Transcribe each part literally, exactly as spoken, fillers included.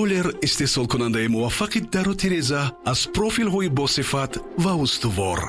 Роллер истеҳсолкунандаи муваффақи дару тиреза аз профилҳои босифат ва устувор.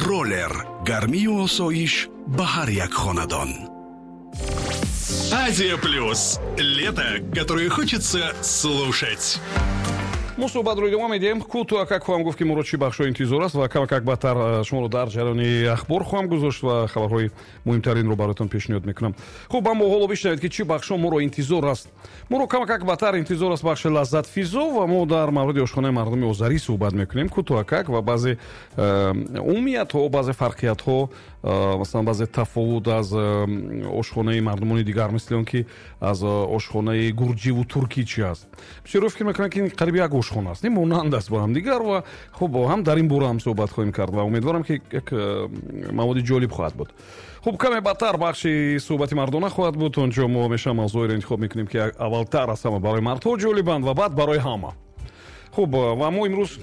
Роллер гармию осоиш ба ҳар як хонадон. Азия Плюс. Лето, которое хочется слушать. Мо суҳбатро идома медиҳем. Кӯтоҳакак хоҳам гуфт, ки моро чӣ бахшҳо интизор аст, ва камакак баъдтар э, шуморо дар ҷараёни ахбор хоҳам гузошт ва хабарҳои муҳимтаринро бароятон пешниҳод мекунам. Хуб, аммо ҳоло бишнавед, ки чӣ бахшҳо моро интизор аст. Моро камакак баъдтар интизор аст бахши «Лаззатфизо», ва мо дар мавриди ошхонаи мардуми озарӣ суҳбат мекунем кӯтоҳакак ва баъзе э, умумиятҳо, баъзе фарқиятҳо, э, масалан, баъзе тафовут аз ошхонаи мардумони дигар, мисли он ки аз ошхонаи гурҷиву туркӣ чи аст. Бисёро фикр мекунанд, ки қариб як ошхона аст, монанд аст бо ҳамдигар. Ва хуб, ҳам дар ин бора ҳам суҳбат хоҳем кард ва умедворам, ки як э, маводи ҷолиб хоҳад буд. Хуб, каме баъдтар бахши «Суҳбати мардона» хоҳад буд. Он ҷо мо ҳамеша мавзӯеро интихоб мекунем, ки аввалтар аз ҳама барои мардҳо ҷолибанд ва баъд барои ҳама. Хуб, ва мо имрӯз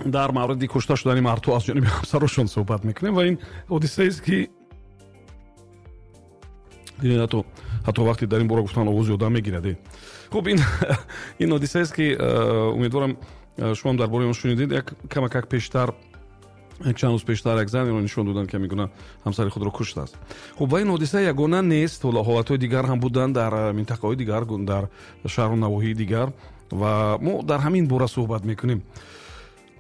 дар мавриди кушта шудани мардҳо аз ҷониби ҳамсарошон суҳбат мекунем. Ва ин ҳодисаест, ки ҳатто ҳатто вақте дар ин бора гуфтан, овози одам мегирад. Хуб, ин ин ҳодисаест, ки э, умедворам, э, шумоам дар бораи он шунидед. Як камакак пештар, як чанд рӯз пештар, як занеро нишон доданд, ки ҳамин ҳамсари худро куштааст. Хуб, ва ин ҳодиса ягона нест, ҳолатҳои дигар ҳам буданд дар э, минтақаҳои дигар, дар шаҳру навоҳии дигар, ва мо дар ҳамин бора суҳбат мекунем.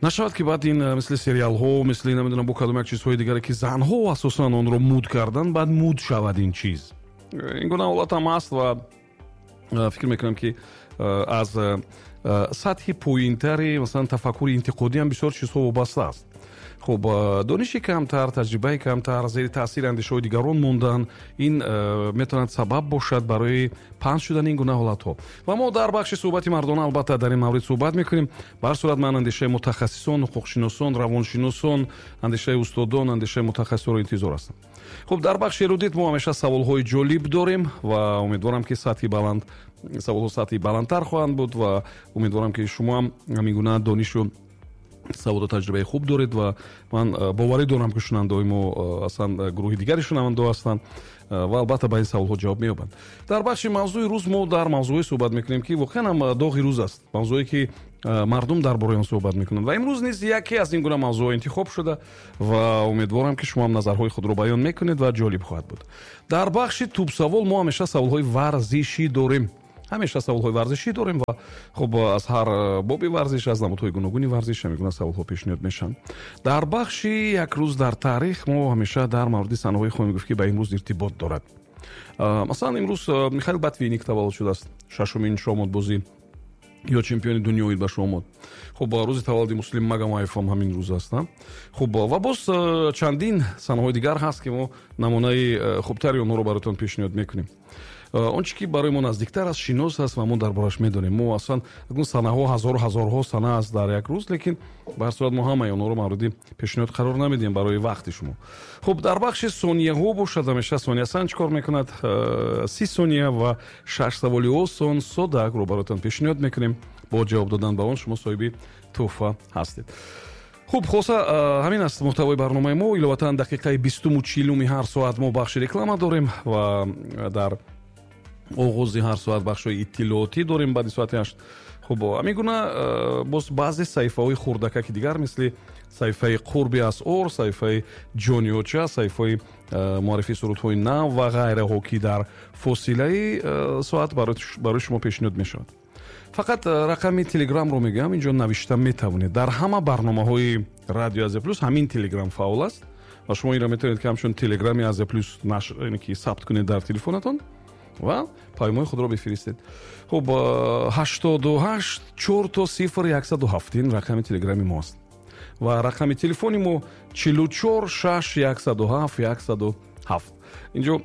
Нашавад, ки баъд ин мисли сериалҳо, мисли намедонам бо кадом як чизҳои дигаре, ки занҳо асосан онро муд карданд, баъд муд шавад ин чиз. Ин гуна ҳолат ҳам аст ва фикр мекунам, ки аз сатҳи поинтари, масалан, тафаккури интиқодӣ ҳам бисёр чизҳо вобаста аст. Хуб, дониши камтар, таҷрибаи камтар, зери таъсири андешаҳои дигарон мондан, ин метавонад сабаб бошад барои паҳн шудани ин гуна ҳолатҳо. Ва мо дар бахши «Суҳбати мардона» албатта дар ин маврид суҳбат мекунем. Ба ҳар сурат, ман андешаи мутахассисон, ҳуқуқшиносон, равоншиносон, андешаи устодон, андешаи мутахассисонро интизор ҳастам. Хуб, дар бахши «Эрудит» мо ҳамеша саволҳои ҷолиб дорем ва умедворам, ки сатҳи баланд саволҳо сатҳи баландтар хоҳанд буд ва умедворам, ки шумо ҳам ҳамин гуна донишу саводу таҷрибаи хуб доред. Ва ман э, боварӣ дорам, ки шунавандаҳои мо э, аслан э, гурӯҳи дигари шунавандаҳо ҳастанд ва албатта ба ин саволҳо ҷавоб меёбанд. Дар бахши «Мавзӯи рӯз» мо дар мавзӯъҳое суҳбат мекунем, ки воқеан ҳам доғи рӯз аст, мавзӯе ки мардум дар бораи он суҳбат мекунанд. Ва имрӯз низ яке аз ин гуна мавзӯъҳо интихоб шуда ва умедворам, ки шумо ҳам назарҳои худро баён мекунед ва ҷолиб хоҳад буд. Дар бахши «Тӯбсавол» мо ҳамеша саволҳои варзишӣ дорем, ҳамеша саволҳои варзишӣ дорем ва хуб, аз ҳар боби варзиш, аз намудҳои гуногуни варзиш ҳамин гуна саволҳо пешниҳод мешаванд. Дар бахши «Як рӯз дар таърих» мо ҳамеша дар мавриди санаҳое хоҳем гуфт, ки ба имрӯз иртибот дорад. Масалан, имрӯз Михаил Ботвинник таваллуд шудааст, шашумин шоҳмотбозӣ ё чемпиони дунё оид ба шоҳмот. Хуб, рӯзи таваллуди Муслим Магомаев ҳам ҳамин рӯз аст. Хуб, ва боз чандин санаҳои дигар ҳаст, ки мо намунаи хубтари онҳоро бароятон пешниҳод мекунем. Он чи ки барои мо наздиктар аст, шинос аст ва мо дар бораш медонем. Мо аслан санаҳо, ҳазору ҳазорҳо сана аст дар як рӯз, лекин ба ҳар сурат мо ҳамаи онҳоро мавриди пешниҳод қарор намедиҳем барои вақти шумо. Хуб, дар бахши «Сонияҳо» бошад, ҳамеша Сониясан чӣ кор мекунад? Си сония ва шаш саволи осон, соддаакро бароятон пешниҳод мекунем. Бо ҷавоб додан ба он шумо соҳиби тӯҳфа ҳастед. Хуб, хулоса, ҳамин аст муҳтавои барномаи мо. Иловатан, дақиқаи бистуму чилуми ҳар соат мо бахши реклама дорем ва дар оғози ҳар соат бахшҳои иттилоотӣ дорем баъди соати ҳашт. Хуб, ҳамин гуна боз баъзе саҳифаҳои хурдакаки дигар, мисли саҳифаи «Қурби асъор», саҳифаи «Ҷониёча», саҳифаи муаррифии сурудҳои нав ва ғайраҳо, ки дар фосилаи соат барои шумо пешниҳод мешавад. Фақат рақами Телеграмро мегӯям, инҷо навишта метавонед. Дар ҳама барномаҳои Радио Азия Плюс ҳамин Телеграм фаъол аст ва шумо инро метавонед, ки ҳамчун Телеграми Азия Плюс ки сабт кунед дар телефонатон ва паёмҳои худро бифиристед. Хуб, ҳаштоду ҳашт чор то сифр яксаду ҳафт, ин рақами Телеграми мо аст ва рақами телефони мо чилу чор шаш яксаду ҳафт яксаду ҳафт. Инҷо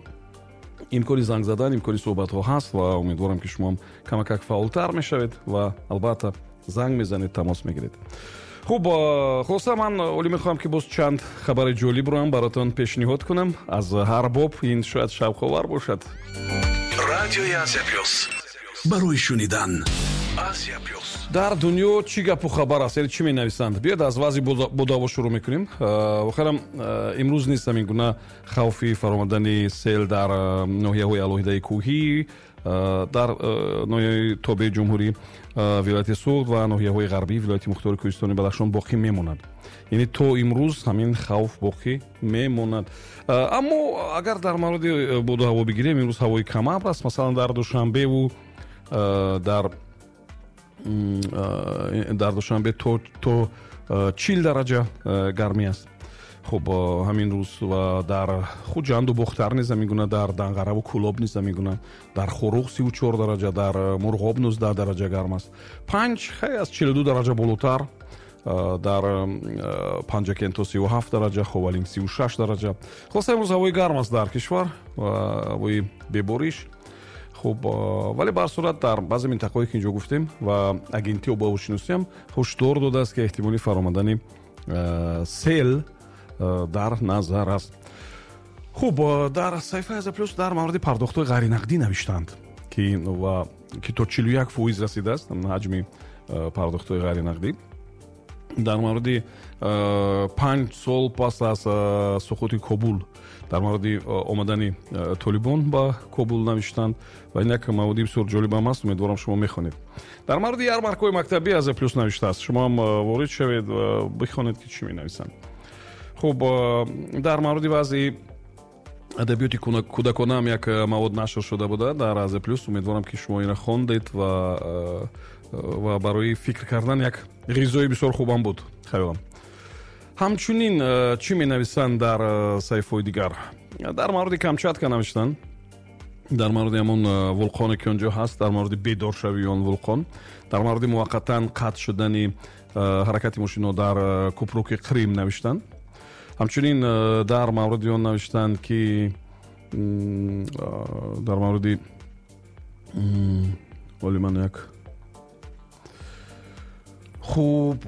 имкони занг задан, имкони суҳбатҳо ҳаст ва умедворам, ки шумоам камакак фаъолтар мешавед ва албатта занг мезанед, тамос мегиред. Хуб, хулоса, ман олӣ мехоҳам, ки боз чанд хабари ҷолибро ҳам баротон пешниҳод кунам аз ҳар боб. Ин шояд шавқовар бошад. Радиои Азия Плюс барои шунидан. Азия Плюс. Дар дунё чӣ гапу хабар аст, яъне чӣ менависанд? Биёед, аз вазъи боду ҳаво шурӯъ мекунем. Охирам имрӯз нест ҳамин гуна хавфи фаромадани сел дар ноҳияҳои алоҳидаи кӯҳӣ. Дар ноҳияи тобеи ҷумҳурӣ, вилояти Суғд ва ноҳияҳои ғарбии вилояти мухтори Кӯҳистони Бадахшон боқӣ мемонад. Яъне то имрӯз ҳамин хавф боқӣ мемонад. Аммо агар дар мавриди боду ҳаво бигирем, имрӯз ҳавои камабр аст. Масалан, дар Душанбеву дар дар Душанбе то то чил дараҷа гармӣ аст. Хуб, ҳамин рӯз ва дар Хуҷанду Бохтар низ ҳамин гуна, дар Данғараву Кӯлоб низ ҳамин гуна, дар Хоруғ сиву чор дараҷа, дар Мурғоб нуздаҳ дараҷа гарм аст. Панҷ хай аз чилу ду дараҷа болотар, дар Панҷакент то сиву ҳафт дараҷа, Ховалинг сиву шаш дараҷа. Хулоса, имрӯз ҳавои гарм аст дар кишвар, ҳавои бебориш. Хуб, вале ба ҳар сурат дар баъзе минтақаҳое ки инҷо гуфтем ва агентии обуҳавошиносиам ҳушдор додааст, ки эҳтимоли фаромадани сел дар назар аст. Хуб, дар саҳифаи Азия Плюс дар мавриди пардохтҳои ғайринақдӣ навиштанд, ки ва ки то чилу як фоиз расидааст ҳаҷми пардохтҳои ғайринақдӣ. Дар мавриди панҷ сол пас аз суқути Кобул, дар мавриди омадани Толибон ба Кобул навиштанд ва ин як маводи бисёр ҷолибам аст, умедворам шумо мехонед. Дар мавриди ярмаркаҳои мактабӣ Азия Плюс навиштааст, шумо ҳам ворид шавед ва бихонед, ки чӣ менависанд. Хуб, дар мавриди вазъи адабиёти кӯдаконаам як мавод нашр шуда буда дар Азия Плюс. Умедворам, ки шумо инро хондед ва ва барои фикр кардан як ғизои бисёр хубам буд, хаёлам. Ҳамчунин чӣ менависанд дар саҳифаҳои дигар? Дар мавриди Камчатка навиштанд, дар мавриди ҳамон вулқоне ки онҷо ҳаст, дар мавриди бедоршавии он вулқон, дар мавриди муваққатан қатъ шудани ҳаракати мошинҳо дар кӯпруки Қрим навиштанд. Ҳамчунин дар мавриди он навиштанд, ки дар мавриди оли ман як хуб,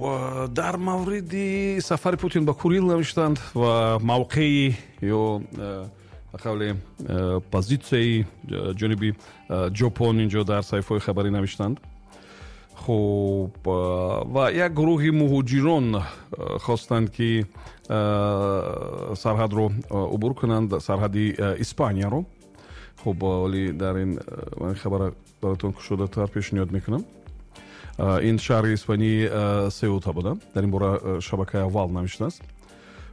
дар мавриди сафари Путин ба Курил навиштанд ва мавқеи ё ба қавле позитсияи ҷониби Ҷопон инҷо дар саҳифаҳои хабарӣ навиштанд. Хуб, ва як гурӯҳи муҳоҷирон хостанд, ки сарҳадро убур кунанд, сарҳади Испанияро. Хуб, вале дар ин хабара баротон кушодатар пешниҳод мекунам. Ин шаҳри Испании Сеута буда, дар ин бора шабакаи аввал навиштааст.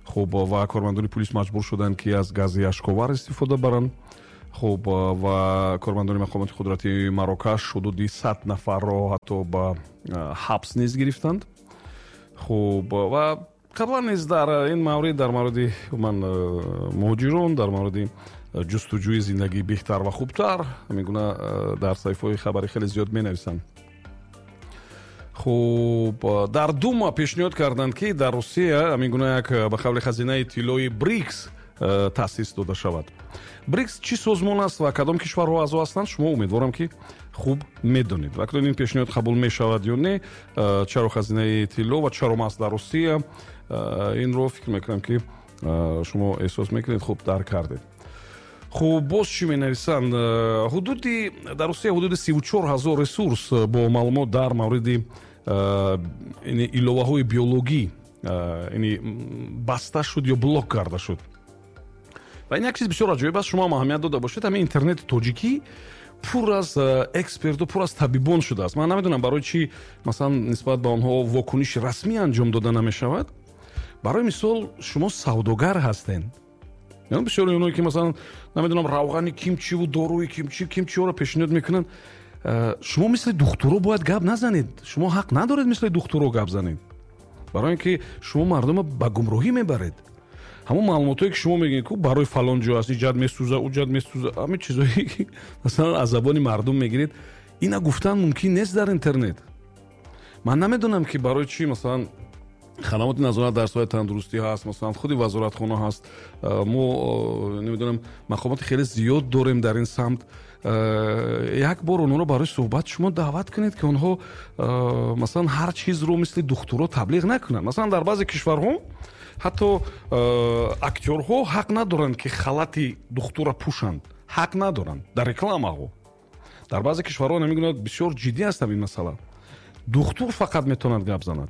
Хуб, ва кормандони пулис маҷбур шуданд, ки аз гази ашковар истифода баранд. Хуб, ва кормандони мақомоти қудрати Марокаш ҳудуди сад нафарро ҳатто ба ҳабс низ гирифтанд. Хуб, ва қаблан низ дар ин маврид, дар мавриди ман муҳоҷирон, дар мавриди ҷустуҷӯи зиндагии беҳтар ва хубтар ҳамин гуна дар саҳифаҳои хабарӣ хеле зиёд менависанд. Хуб, дар Дума пешниҳод карданд, ки дар Русия ҳамин гуна як ба қавли хазинаи тиллои Брикс таъсис дода шавад. Брикс чӣ созмон аст ва кадом кишварҳо аъзо ҳастанд, шумо умедворам, ки хуб медонед. Ва акнун ин пешниҳод қабул мешавад ё не, чаро хазинаи тилло ва чаро маҳз дар Русия, инро фикр мекунам, ки шумо эҳсос мекунед, хуб дарк кардед. Хуб, боз чӣ менависанд? Ҳудуди дар Русия ҳудуди сиву чор ҳазор ресурс бо маълумот дар мавриди иловаҳои биологӣ баста шуд ё блок карда шуд. Ва ин як чиз бисёр аҷоиб аст, шумо ҳам аҳамият дода бошед, ҳамин интернети тоҷикӣ пур аз эксперту, пур аз табибон шудааст. Ман намедонам барои чӣ масалан нисбат ба онҳо вокуниши расмӣ анҷом дода намешавад. Барои мисол, шумо савдогар ҳастед. Бисёри оное ки масалан намедонам равғани кимчиву доруи кимчи кимчиҳоро пешниҳод мекунанд, шумо мисли духтуро бояд гап назанед. Шумо ҳақ надоред мисли духтуро гап занед, барои ин ки шумо мардумро ба гумроҳӣ мебаред. Ҳамон маълумотое ки шумо мегӯед, ку барои фалон ҷо аст, иҷад месӯза, уҷад месӯза, ҳамин чизое ки масалан аз забони мардум мегиред, ина гуфтан мумкин нест дар интернет. Ман намедонам, ки барои чӣ масалан хадамоти назорат дар соҳаи тандурустӣ ҳаст, масалан худи вазоратхона ҳаст, мо намедонам мақомоти хеле зиёд дорем дар ин самт. Як бор онҳоро барои суҳбат шумо даъват кунед, ки онҳо масалан ҳар чизро мисли духтуро таблиғ накунанд. Масалан дар баъзе кишварҳо ҳатто актёрҳо ҳақ надоранд, ки халати духтура пӯшанд, ҳақ надоранд дар рекламаҳо. Дар баъзе кишварҳо намегӯянд, бисёр ҷиддӣ аст ин масъала. Духтур фақат метавонад гап занад.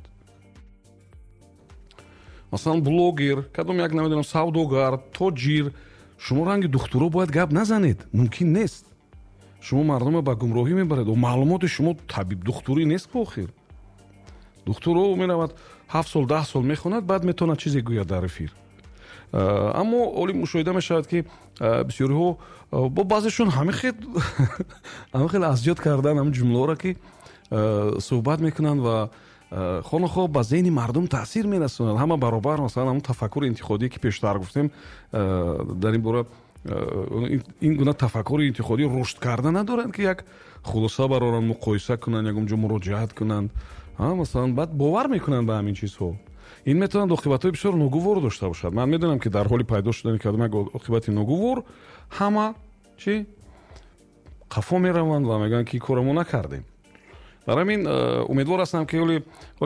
Масалан блогер, кадом як намедонам савдогар, тоҷир, шумо ранги духтуро бояд гап назанед, мумкин нест. Шумо мардумро ба гумроҳӣ мебаред. Маълумоти шумо табиб духтурӣ нест охир. Духтур меравад ҳафт сол, даҳ сол мехонад, баъд метавонад чизе гӯяд дар эфир. Аммо оли мушоҳида мешавад, ки бисёриҳо бо баъзешон ҳамин хел ҳамин хел азёд кардан ҳамин ҷумлаҳоро, ки суҳбат мекунанд ва хонахо ба зеҳни мардум таъсир мерасонанд. Ҳама баробар, масалан, ҳамон тафаккури интиқодӣ, ки пештар гуфтем, дар ин бора ин гуна тафаккури интиқодӣ рушд карда надоранд, ки як хулоса бароранд, муқоиса кунанд, ягон ҷо муроҷиат кунанд. Масалан, баъд бовар мекунанд ба ҳамин чизҳо. Ин метавонад оқибатҳои бисёр ногувор дошта бошад. Ман медонам, ки дар ҳоли пайдо шудани кадом як оқибати ногувор ҳама чӣ қафо мераванд ва мегӯянд, ки кора мо накардем. Барои ҳамин умедвор ҳастам, ки ҳоле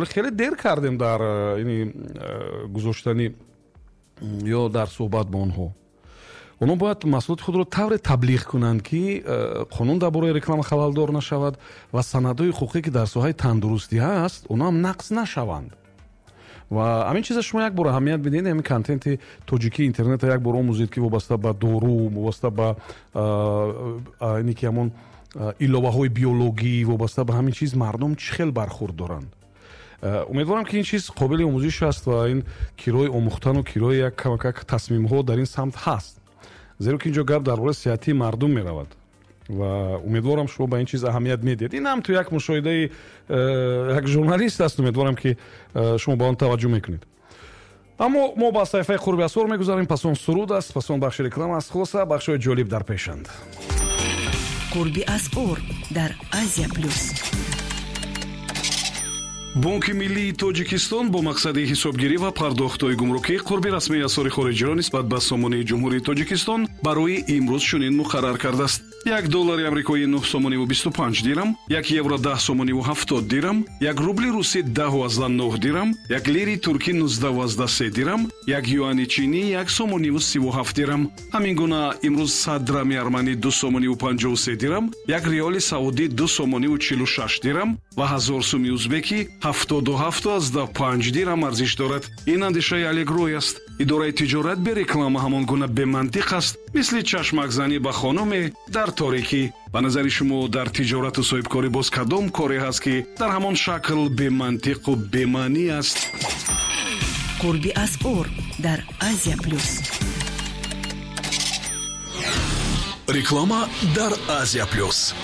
хеле дер кардем дар ини гузоштани ё дар суҳбат бо онҳо. Онҳо бояд маҳсулоти худро тавре таблиғ кунанд, ки қонун дар бораи реклама халалдор нашавад ва санадҳои ҳуқуқӣ, ки дар соҳаи тандурустӣ ҳаст, онҳо ҳам нақс нашаванд. Ва ҳамин чиза шумо як бор аҳамият бидиҳед, ҳамин контенти тоҷикии интернетро як бор омӯзед, ки вобаста ба дору, вобаста ба ине ки ҳамон иловаҳои биологӣ, вобаста ба ҳамин чиз мардум чӣ хел бархурд доранд. Умедворам, ки ин чиз қобили омӯзиш аст ва ин кирои омӯхтану кирои як камакак тасмимҳо дар ин самт ҳаст, зеро ки инҷо гап дар бораи сиҳатии мардум меравад ва умедворам шумо ба ин чиз аҳамият медиҳед. Ин ҳам ту як мушоҳидаи як журналист аст. Умедворам, ки шумо ба он таваҷҷӯҳ мекунед. Аммо мо ба саҳифаи қурби асъор мегузарем. Пас он суруд аст, пас он бахши реклама аст. Хулоса, бахшҳои ҷолиб дар пешанд. Қурби асъор дар Азия Плюс. Бонки миллии Тоҷикистон бо мақсади ҳисобгирӣ ва пардохтҳои гумрукӣ қурби расмии асъори хориҷиро нисбат ба сомонии Ҷумҳурии Тоҷикистон барои имрӯз чунин муқаррар кардааст: як доллари амрикоӣ нӯҳ сомониву бисту панҷ дирам, як евро даҳ сомониву ҳафтод дирам, як рубли русӣ даҳу азда нӯҳ дирам, як лири туркӣ нуздаҳу азда се дирам, як юани чинӣ як сомониву сиву ҳафт дирам. Ҳамин гуна имрӯз сад драми арманӣ ду сомониву панҷоҳу се дирам, як риёли саудӣ ду сомониву чилу шаш дирам ва ҳазор суми узбекӣ ҳафтоду ҳафту азда панҷ дирам арзиш дорад. Ин андешаи Алегрой аст. Идораи тиҷорат бе реклама ҳамон гуна бемантиқ аст, мисли чашмакзанӣ ба хонуме дар торикӣ. Ба назари шумо дар тиҷорату соҳибкорӣ боз кадом коре ҳаст, ки дар ҳамон шакл бемантиқу бемаънӣ аст? Қурби асъор дар Азия Плюс. Реклама дар Азия Плюс.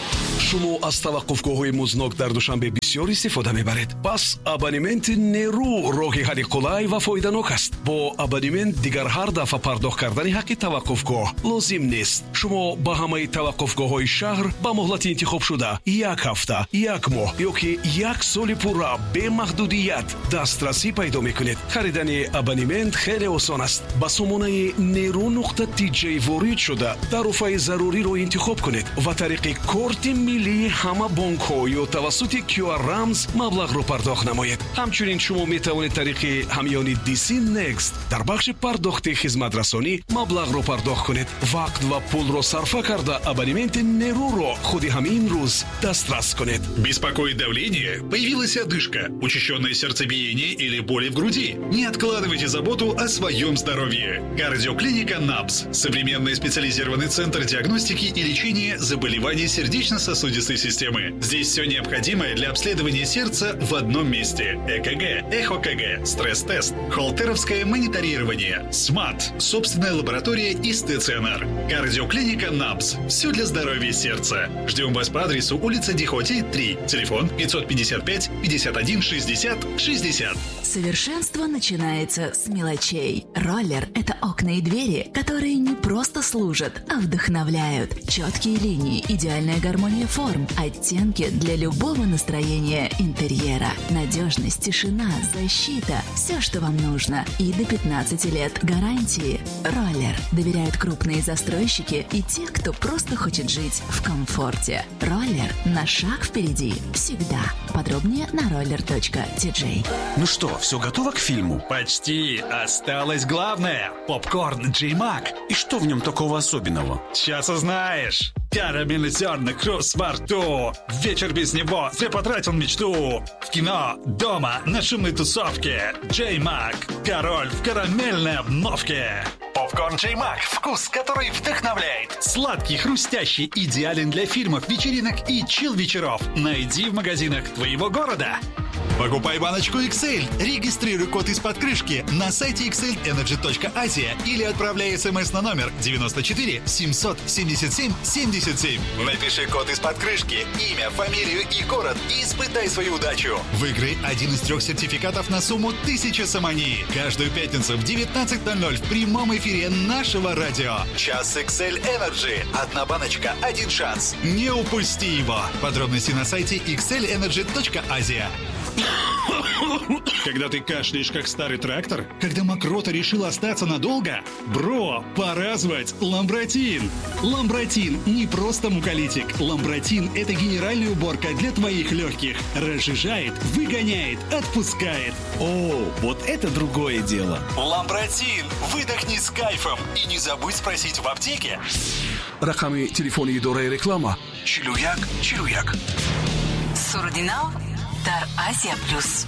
Шумо аз таваққуфгоҳҳои музнок дар Душанбе бисёр истифода мебаред. Пас абонементи Неру роҳи ҳалли қулай ва фоиданок аст. Бо абонемент дигар ҳар дафъа пардохт кардани ҳаққи таваққуфгоҳ лозим нест. Шумо ба ҳамаи таваққуфгоҳҳои шаҳр ба муҳлати интихобшуда як ҳафта, як моҳ ё ки як соли пурра бемаҳдудият дастрасӣ пайдо мекунед. Харидани абонемент хеле осон аст. Ба сомонаи неру нуқта тиҷ ворид шуда тарофаи заруриро интихоб кунед ва тариқи корти миллии ҳама бонкҳо ё тавассути Q R рамз маблағро пардохт намоед. Ҳамчунин шумо метавонед тариқи ҳамёни D C Next дар бахши пардохти хизматрасонӣ маблағро пардохт кунед. Вақт ва пулро сарфа карда абонементи Неруро худи ҳамин рӯз дастрас кунед. Беспокоит давление? Появилась одышка, учащенное сердцебиение или боли в груди? Не откладывайте заботу о своем здоровье. Кардиоклиника НАБС. Современный специализированный центр диагностики и лечения заболеваний сердечно-сосудистой системы. Здесь все необходимое для обследования сердца в одном месте. ЭКГ, ЭхоКГ, стресс-тест, холтеровское мониторирование, СМАТ, собственная лаборатория и стационар. Кардиоклиника НАБС. Все для здоровья сердца. Ждем вас по адресу улица Дихоти, три. Телефон пятьсот пятьдесят пять пятьдесят один шестьдесят шестьдесят. Совершенство начинается с мелочей. Роллер – это окна и двери, которые не просто служат, а вдохновляют. Четкие линии, идеальная гармония форм, оттенки для любого настроения интерьера. Надежность, тишина, защита – все, что вам нужно. И до пятнадцати лет гарантии. Роллер доверяют крупные застройщики и те, кто просто хочет жить в комфорте. Роллер на шаг впереди всегда. Подробнее на роллер точка ти джей. Ну что, все готово к фильму? Почти. Осталось главное. Попкорн Джей Мак. И что в нем такого особенного? Сейчас узнаешь. Карамельный зерна, хруст во рту. Вечер без него, зря потратил мечту. В кино, дома, на шумной тусовке. Джей Мак. Король в карамельной обновке. Попкорн Джей Мак. Вкус, который вдохновляет. Сладкий, хрустящий, идеален для фильмов, вечеринок и чил-вечеров. Найди в магазинах твоего города. Покупай баночку X L. Регистрируй код из-под крышки на сайте xlenergy точка asia или отправляй смс на номер девяносто четыре семьсот семьдесят семь семьдесят семь. Напиши код из-под крышки, имя, фамилию и город и испытай свою удачу. Выиграй один из трех сертификатов на сумму тысяча сомони. Каждую пятницу в девятнадцать ноль ноль в прямом эфире нашего радио. Час X L Energy. Одна баночка, один шанс. Не упусти его. Подробности на сайте xlenergy точка asia. Когда ты кашляешь, как старый трактор? Когда мокрота решила остаться надолго? Бро, пора звать Ламбратин! Ламбратин не просто муколитик. Ламбратин – это генеральная уборка для твоих легких. Разжижает, выгоняет, отпускает. О, вот это другое дело. Ламбратин! Выдохни с кайфом. И не забудь спросить в аптеке. Рақами телефони идораи реклама чилу як чилу як. Суруди нав дар Азия Плюс.